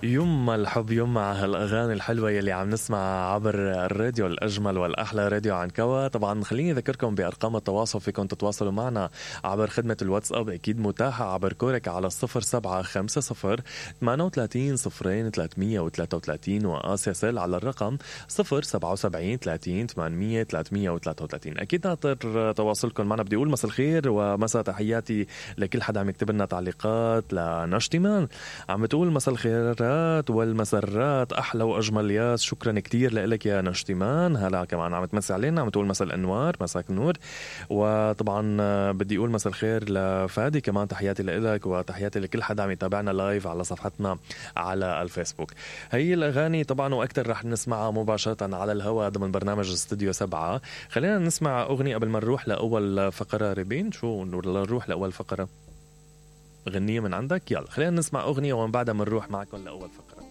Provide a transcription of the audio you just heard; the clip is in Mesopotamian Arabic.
يما الحب يما هالأغاني الحلوة يلي عم نسمع عبر الراديو الأجمل والأحلى راديو عنكوى. طبعا خليني أذكركم بأرقام التواصل، فيكم تتواصلوا معنا عبر خدمة الواتساب أكيد متاحة عبر كورك على 0750-38-0333 وآسياسل على الرقم 077-30-800-333. أكيد ناطر تواصلكم معنا. بدي أقول مساء الخير ومساء تحياتي لكل حدا عم يكتب لنا تعليقات. لنشتمان عم بتقول مساء الخير والمسرات أحلى وأجمل ياس، شكرا كتير لك يا نشتمان. هلا كمان عم تمسي علينا، عم تقول مساء الأنوار، مساك النور. وطبعا بدي أقول مساء الخير لفادي كمان، تحياتي لك وتحياتي لكل حدا عم يتابعنا لايف على صفحتنا على الفيسبوك. هي الأغاني طبعا وأكتر رح نسمعها مباشرة على الهواء ضمن برنامج استوديو 7. خلينا نسمع أغنية قبل ما نروح لأول فقرة. ريبين شو نروح لأول فقرة؟ غنية من عندك؟ يلا خلينا نسمع أغنية ومن بعدها منروح معكم لأول فقرة.